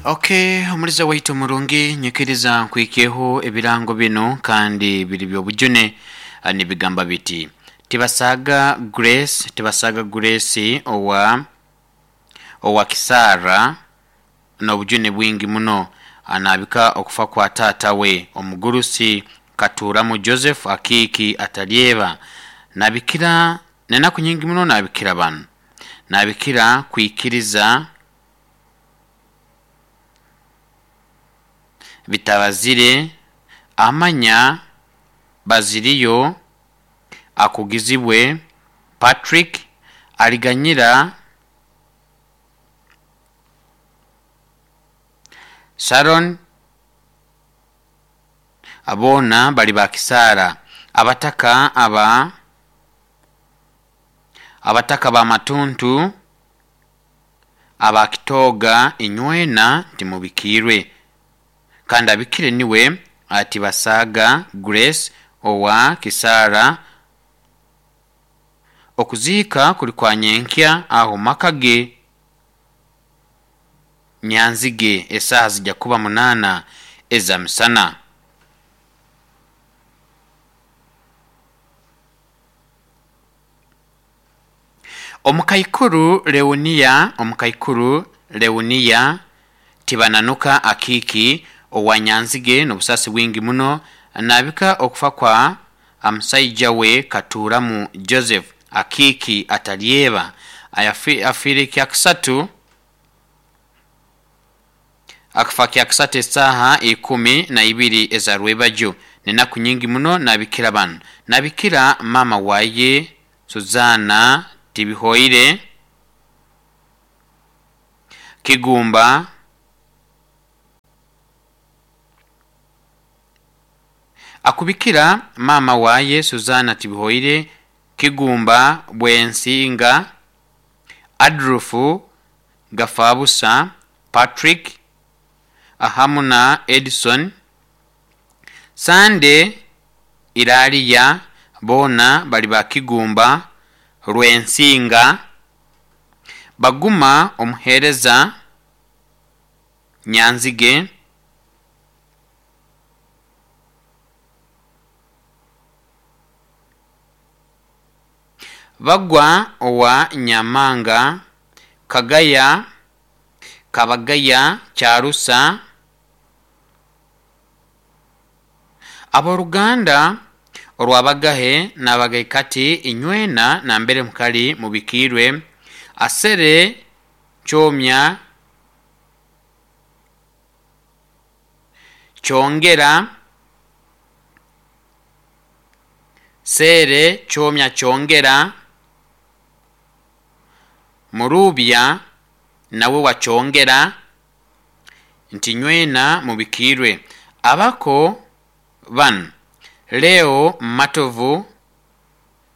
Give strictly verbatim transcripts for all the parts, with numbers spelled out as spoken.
Okay, omuliza waitu murungi, nyikiriza nkwikeho ebirango bino kandi biri byobujune. ah, nibigamba biti tibasaga Grace, tibasaga Grace owa owa Kisara n'obujune bwingi muno, anabika okufa kwa taata we omugurusi Katuramu Joseph Akiiki atalyeba. Nabikira nenaku nyingi muno, nabikira bano, nabikira kwikiriza bitabazire amanya baziriyo akugizibwe Patrick aliganyira Sharon, aboona bali bakisara. Abataka aba abataka ba matuntu abakitoga inywena timubikirwe, kandi abikire niwe ati basaga Grace owa Kisara. Okuziika kuli kwa nyenkya aho makage Nyanzige, esaaha zijja kuba munaana eza misana. Omukaikuru Leonia, omukaikuru Leonia Tibananuka Akiiki owa Nyanzige n'obusasi bwingi muno, nabika okufa kwa omusaija we Katuramu Joseph Akiiki atalyeba. Ayafi- afiire kyakisatu, akafa kyakisatu esaaha ikumi na ibiri eza rwebajo. Nenaku nyingi muno nabikira bano, nabikira mama waye Suzana Tibihoire Kigumba akubikira mama waye Suzana Tibihoire Kigumba Bwensinga Adrufu Gafabusa Patrick ahamu na Edison Sande Iraliya, boona bali ba Kigumba Rwensinga. Baguma omuheereza Nyanzige Bagwa owa Nyamanga Kagaya Kabagaya Kyarusa. Abooluganda orwabagahe nabagaikati inywena nambere mukali mubikirwe. Asere Kyomya Kyongera Sere Kyomya Kyongera Murubya nawe wa Kyongera nti nywena mubikirwe. Abako bano Leo Matovu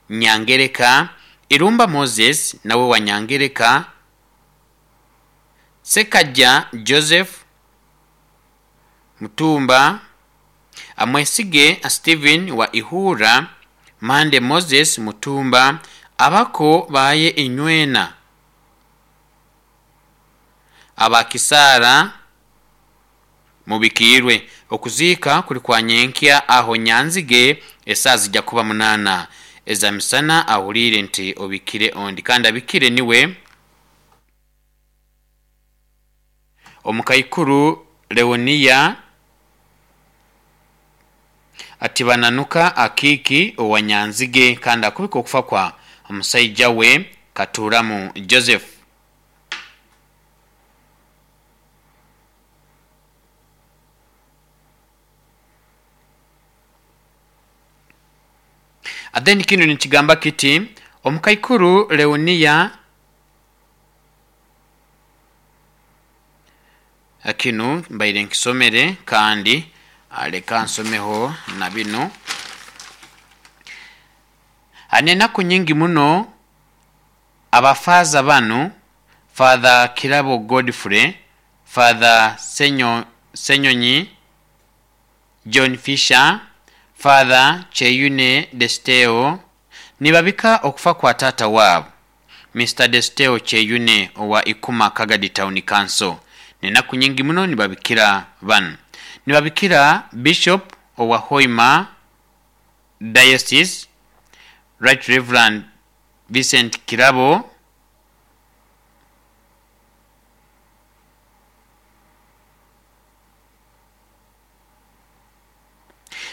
Nyangereka, Irumba Moses nawe wa Nyangereka, Sekajja Joseph Mutumba, Amwesige Stephen wa Ihura, Mande Moses Mutumba. Abako baye inywena abakisara mubikirwe. Okuziika kuli kwa nyenkya aho Nyanzige esaaha zijja kuba munaana eza misana. Ahuliire nti obikire ondi, kandi abikire niwe omukaikuru Leonia Atibananuka Akiiki owa Nyanzige, kandi akubika okufa kwa omusaija we Katuramu Joseph. Then kino nikigamba kiti omukaikuru Leonia kinu mbaire nkisomere, kandi leka nsomeho na bino. Nenaku nyingi muno abafaza bano Father Kirabo Godfrey, Father Senyo, Senyonyi John Fisher, Father Cheyune Desteo nibabika okufa kwa taata waabo Mister Desteo Cheyune owa Ikuma Kagadi Town Council. Nenaku nyingi muno nibabikira banu. Nibabikira Bishop owa Hoima Diocese, Right Reverend Vincent Kirabo,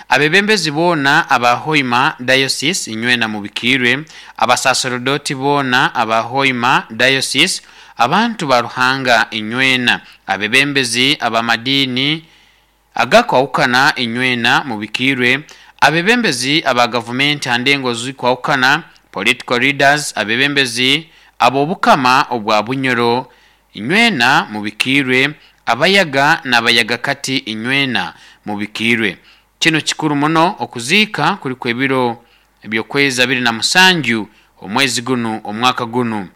abebembezi boona aba Hoima Diocese inywena mubikirwe, abasaserdoti boona aba Hoima Diocese, abantu ba Ruhanga inywena, abebembezi abamadini agakwawukana inywena mubikirwe, abebembezi aba gavumenti handengo zikwawukana, political leaders, abebembezi ab'obukama obwa Bunyoro inywena mubikirwe, abayaga n'abayaga kati inywena mubikirwe. Kino kikuru muno okuziika kuliku ebiro ebyokwezi abiri na musanju omwezi gunu omwaka gunu.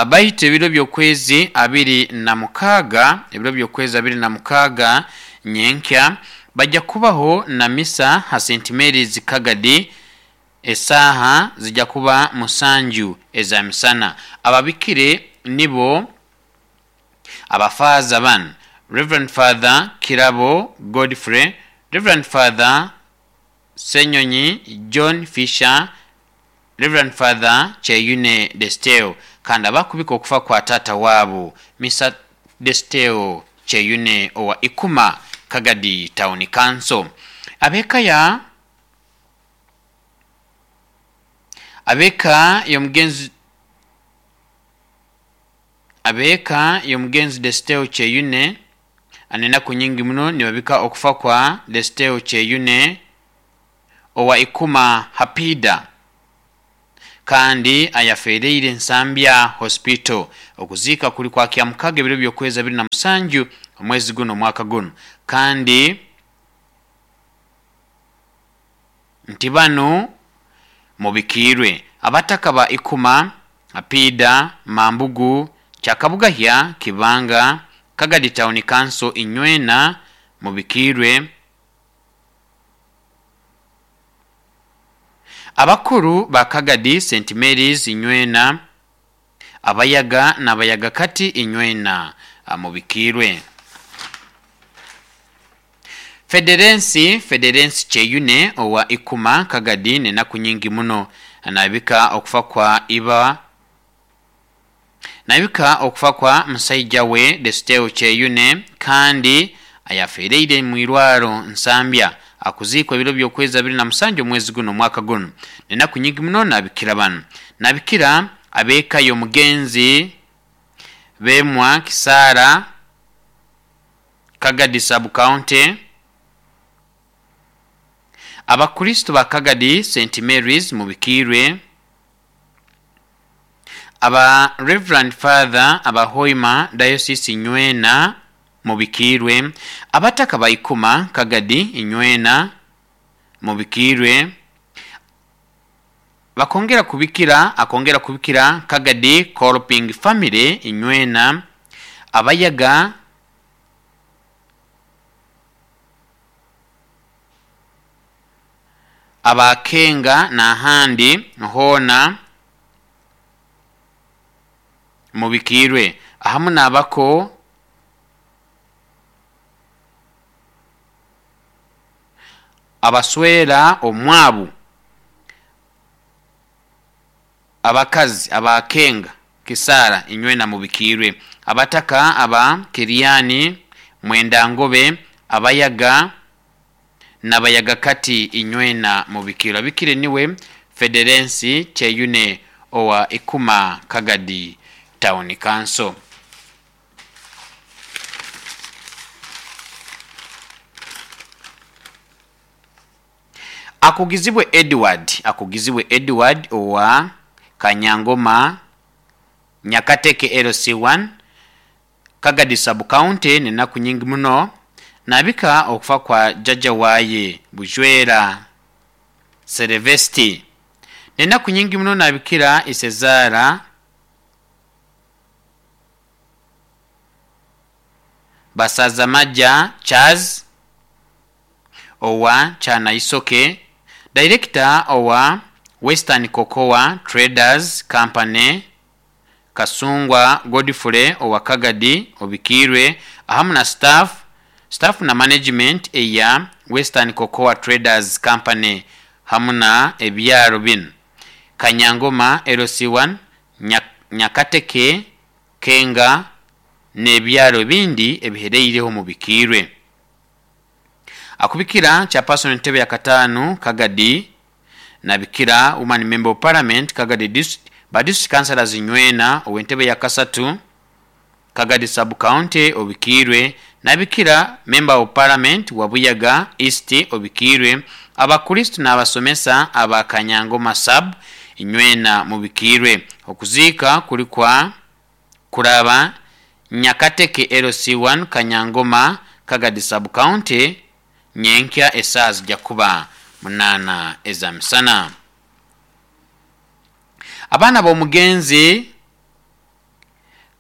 Baitu ebiro byokwezi abiri na mukaaga, ebiro byokwezi abiri na mukaaga nyenkya bajja kubaho na misa ha Saint Mary's Kagadi, esaaha zijja kuba musanju eza misana. Ababikire nibo abafaaza banu: Reverend Father Kirabo Godfrey, Reverend Father Senyonyi John Fisher, Reverend Father Kyeyune Desteo, kandi abakubika okufa kwa tata waabo Mister Desteo Kyeyune owa Ikuma Kagadi Town Council. Abeka ya abeka y'omugenzi abeka y'omugenzi Desteo Kyeyune anenaku nyingi muno nibabika okufa kwa Desteo Kyeyune owa Ikuma Hapida, kandi ayafereire Nsambya Hospital. Okuziika kuli kwa kyamukaga ebiro byokwezi abiri na musanju omwezi guno omwaka guno. Kandi nti banu mubikirwe abataka ba Ikuma Hapida, Mambugu, Kyakabugahya, Kibanga, Kagadi Town Council inywena mubikirwe, abakuru ba Kagadi Saint Mary's inywena, abayaga n'abayaga kati inywena mubikirwe. Federensi Federensi Kyeyune owa Ikuma Kagadi nenaku nyingi muno nabika okufa kwa iba nabika okufa kwa musaija we Desteo Kyeyune, kandi ayafereire mu irwaro Nsambya. Akuziikwa ebiro byokwezi abiri na musanju omwezi guno omwaka guno. Nenaku nyingi muno nabikira banu. Nabikira abeka y'omugenzi Bemwa Kisara Kagadi Sub County, Abakristo ba Kagadi Saint Mary's mubikirwe, aba Reverend Father aba Hoima Diocese inywena mubikirwe, abataka ba Ikuma Kagadi inywena mubikirwe, bakongera kubikira akongera kubikira Kagadi Kolping Family inywena, abayaga abakenga n'ahandi hoona mubikirwe, ahamu n'abako abaswera omwabu abakazi abakenga Kisara inywena mubikirwe, abataka aba Kiriani Mwendangobe, abayaga n'abayaga kati inywena mubikirwe. Abikire niwe Federensi Kyeyune owa Ikuma Kagadi Town Council. Akugizibwe Edward akugizibwe Edward owa Kanyangoma Nyakateke L C one Kagadi Sub County nenaku nyingi muno nabika okufa kwa jjajja waye Bujwera Selevesti. Nenaku nyingi muno nabikira Isezara Basazamaja Charles owa Chanaisoke, Director owa Western Cocoa Traders Company Kasungwa Godfrey owa Kagadi obikiirwe ahamu na staff staff na management eya Western Cocoa Traders Company hamu na ebyaro binu Kanyangoma L C one, Nyakateke, Kenga n'ebyaro ebindi ebihereireho mubikiirwe. Akubikira chairperson entebe ya katano Kagadi nabikira woman member of parliament Kagadi district ba district councillors nywena ow'entebe ya kasatu Kagadi sub county obikirwe nabikira member of parliament Wabuyaga East obikirwe abakristo n'abasomesa aba Kanyangoma sub nywena mubikirwe. Okuziika kuli kwa kuraba Nyakateke L C one Kanyangoma Kagadi sub county nyenkya esaa zijja kuba munana ezamisana. Abaana b'omugenzi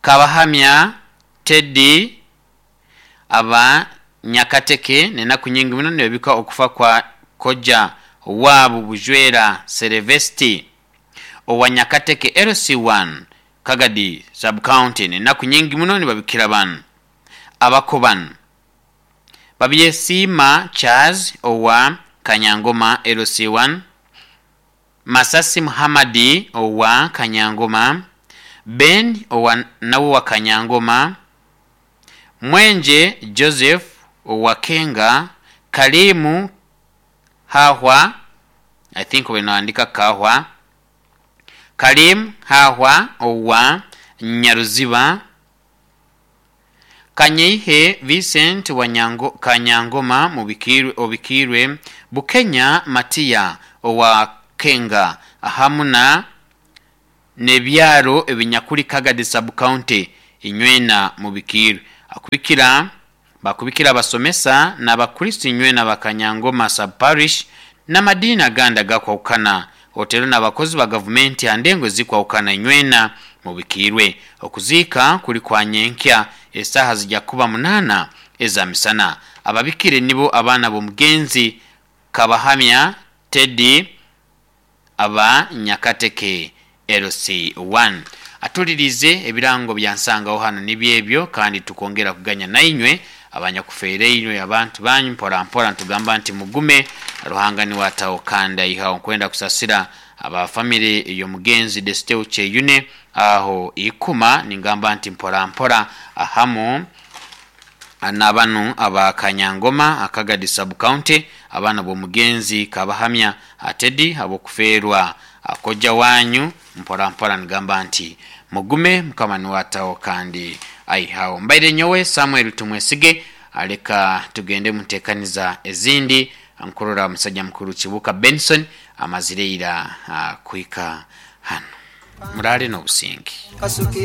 Kabahamya Teddy aba Nyakateke nenaku nyingi muno nebika okufa kwa koja wabu Bujwera Selevesti owa Nyakateke L C one Kagadi sub county nenaku nyingi muno nibabikira banu abakoban Babyesiima Charles owa Kanyangoma L C one, Masasi Muhammadi owa Kanyangoma, Ben owa nawe wa Kanyangoma, Mwenje Joseph owa Kenga, Kalimu Hahwa, I think wenaandika Kahwa, Kalimu Hahwa owa Nyaruziba, Kanyeihe Vincent wa Nyango, Kanyangoma mubikirwe obikirwe, Bukenya Matia owa Kenga ahamuna nebyaro ebinyakuli Kagadi sub county inywena mubikirwe. Akubikira bakubikira abasomesa n'abakristo inywena bakanyangoma sub parish n'amadini aganda gakwawukana otero n'abakozi ba gavumenti andengo zikwawukana inywena mubikirwe. Okuziika kuli kwa nyenkya esaha zijja kuba munana ezamisana. Ababikire nibo abaana b'omugenzi Kabahamya Teddy aba Nyakateke L C one. Atulirize ebirango byansangaho hano nibyebyo kandi tukongera kuganya nainywe abanyakufeereirwe abantu banyu mpora mpora ntugamba nti mugume Ruhanga ni watawo kanda ihawo nkwenda kusasira aba family y'omugenzi Desteo Cheyune aho ikuma ningamba nti mpora mpora ahamu n'abanu aba Kanyangoma Akagadi sub county abaana b'omugenzi Kabahamya Atedi abokufeerwa akojja wanyu mpora mpora nigamba nti mugume Mukama ni watawo kandi aihawo. Mbaire nyowe Samuel Tumwesige aleka tugende mutekaniza ezindi nkurora musajja mukuru Kibuka Benson amazireira kuika hano murale n'obusingi.